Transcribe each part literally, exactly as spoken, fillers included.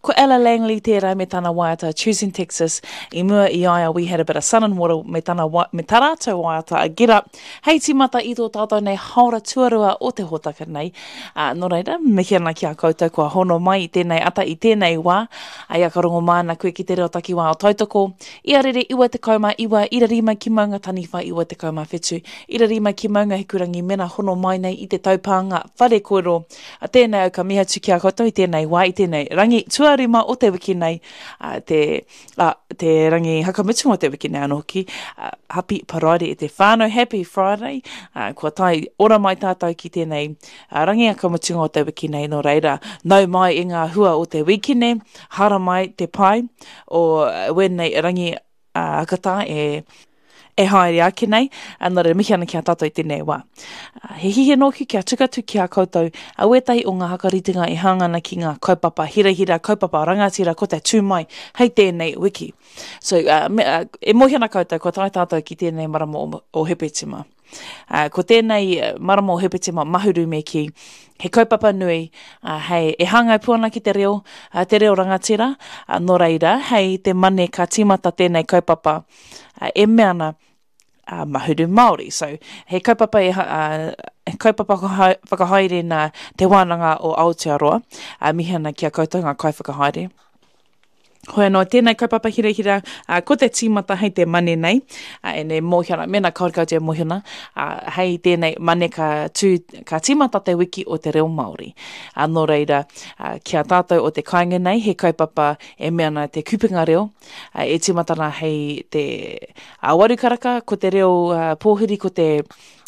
Ko Ella Langley tērā me tana waiata Choosing Texas. I mua i a ia We Had a Bit of Sun and Water me, tana, me tā rātou waiata a Get Up. Hei tīmata i tō tātou nei haora tuarua o te hōtaka nei. Uh, nō reira, mihi ana ki a koutou kua hono mai i tēnei ata i tēnei wā. Ai a ka rongo māna koe ki te reo takiwā o Tautoko. Ia rere iwa tekau mā iwa, ira rima ki Maunga Taniwha iwa tekau mā whetu, ira rima ki Maunga Hikurangi mena hono mai nei i te taupānga whare kōrero. A tēnei au ka mihi atu ki a koutou i tēnei wā, i tēnei rangi tuarima o te wiki nei, a, te, a, te rangi hakamutunga o te wiki nei anō hoki. A, happy Paraire e te whānau, happy Friday. A, kua tae ora mai tātou ki tēnei a, rangi hakamutunga o te wiki nei, nō reira, nau mai i ngā hua o te wikine, hara mai te pai o wēnei rangi a, hakatā e e haere ake nei, a nō reira mihi ana ki a tātou i tēnei wā. He hihi nōki kia tuku atu ki a koutou a wētahi o ngā hakaritenga e hāngai ana ki ngā kaupapa hirahira, kaupapa rangatira ko te tū mai hei tēnei wiki. So, uh, me, uh, e mōhio ana koutou, kua tae tātou ki tēnei marama o, o Hepetema. Uh, ko tēnei marama o Hepetema mahuru me ki, he kaupapa nui, uh, hei, e hāngai pū ana ki te reo, uh, te reo rangatira, uh, nō reira, hei te mane ka tīmata tēnei kaupapa, uh, e mea ana, uh, mahuru Māori. So, he kaupapa, e, uh, he kaupapa whakahaere nā Te Wānanga o Aotearoa, uh, mihi ana ki a koutou ngā kaiwhakahaere. Hoi anō, tēnei kaupapa hirahira, uh, ko te tīmata hei te mane nei, uh, e nei mōhio ana, mēnā kaore koutou e mōhio ana, uh, hei tēnei mane ka, tū, ka tīmata te wiki o te reo Māori. Uh, nō reira, uh, ki a tātou o te kāinga nei, he kaupapa e mea ana te kupenga reo, uh, e tīmata ana hei te uh, waru karaka, ko te reo uh, pōhiri, ko te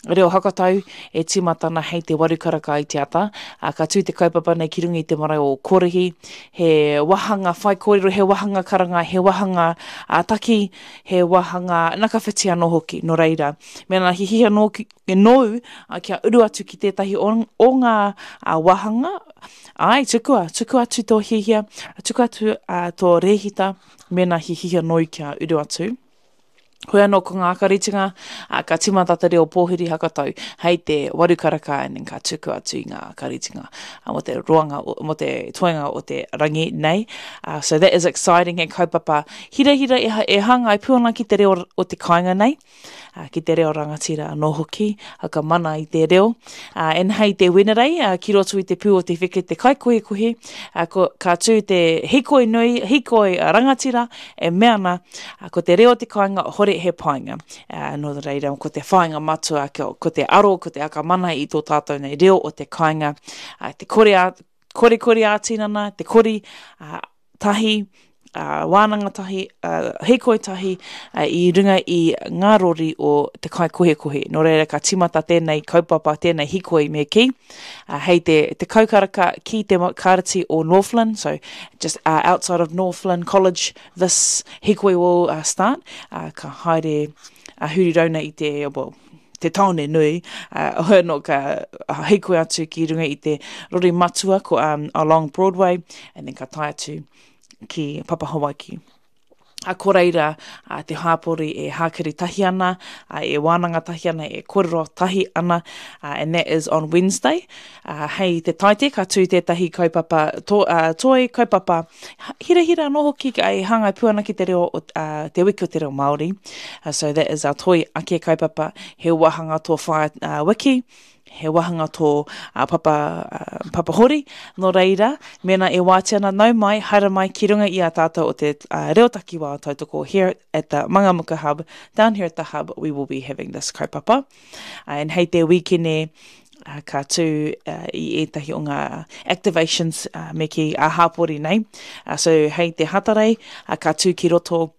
reo hakatau e tīmata ana hei te waru karaka i te ata. Uh, ka tū te kaupapa nei ki runga i te marae o Korihi, he wahanga whaikōrero, he wahanga karanga, he wahanga uh, taki, he wahanga nakawhiti anō hoki, nō reira. Mēnā hihia nō, nōu uh, kia uru atu ki tētahi o, o ngā uh, wahanga, ai, tukua, tukua atu tō hihia, tukua atu uh, tō rēhita, mēnā hihia nōu kia uru atu. Hoi anō ko ngā akaritinga, uh, ka tīmata te reo pōhiri hakatau hei te waru karaka and then ka tuku atu i ngā akaritinga uh, mo te roanga, mo te toenga o te rangi nei. Uh, so that is exciting, he kaupapa hirahira e, e hāngai pū ana ki te reo o te kāinga nei, uh, ki te reo rangatira anō hoki, ka mana i te reo. Uh, and hei te Wenerei, uh, ki roto i te pū o te wheke te kaikohekohe, uh, ko, ka tū te hikoi nui, hikoi rangatira, e mea ana, uh, ko te reo o te kāinga hore he painga. Uh, nō reira, ko te whāinga matua, ko, ko te aro, ko te akamana i tō tātou nei reo o te kāinga, uh, te kore a, kore kore ā-tinana, te kori uh, tahi, uh, wānanga tahi, uh, hikoi tahi, uh, i runga i ngā rori o te kaikohekohe. Nō reira, ka tīmata tēnei kaupapa, tēnei hikoi me ki, uh, hei te, te kaukaraka ki te kāreti o Northland, so just uh, outside of Northland College, this hikoi will uh, start. Uh, ka haere uh, huri rauna i te, well, te tāone nui, uh, hoi anō ka uh, hikoi atu ki runga i te rori matua ko, um, along Broadway, and then ka tae atu ki Papa Hawaiki. A ko reira, a te hāpori e hākiri tahi ana, a e wānanga tahi ana, e kōrero tahi ana, a, and that is on Wednesday. A, hei te taite, ka tū tētahi kaupapa, to, uh, toi kaupapa hirahira anō hoki e hāngai pū ana ki te reo o, uh, te wiki o te reo Māori. Uh, so that is our toi ake kaupapa, he wahanga tō whaia uh, wiki, he wahanga tō uh, papa, uh, papa hori, nō reira, mēnā e wātea ana nau mai, haere mai ki runga i a tātou o te uh, reo takiwā o Tautoko here at the Mangamuka Hub. Down here at the hub, we will be having this kaupapa. Uh, and hei te wikene, uh, ka tū uh, i ētahi o ngā activations uh, me ki a hāpori nei. Uh, so hei te Hatarei, uh, ka tū ki roto.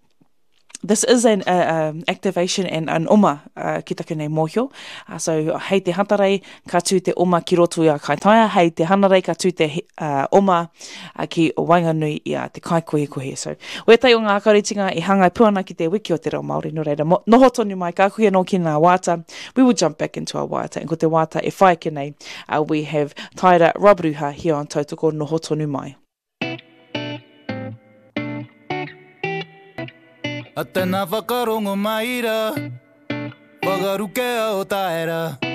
This is an uh, um, activation and an oma uh, ki taku nei mōhio. Uh, so hei te Hatarei ka tū te oma ki roto i a Kaitaia, hei te Hanarei ka tū te uh, oma uh, ki waenganui i a te kaikohekohe. So wētahi o ngā akaritinga e hāngai pū ana ki te wiki o te reo Māori. Nō reira, mo, noho tonu mai, ka kuhi anō ki ngā waiata. We will jump back into our waiata. And ko te waiata e whai ake nei, uh, we have Taira Robruha here on Tautoko, noho tonu mai. A tēnā whakarongo mai rā, whakarukea o taera.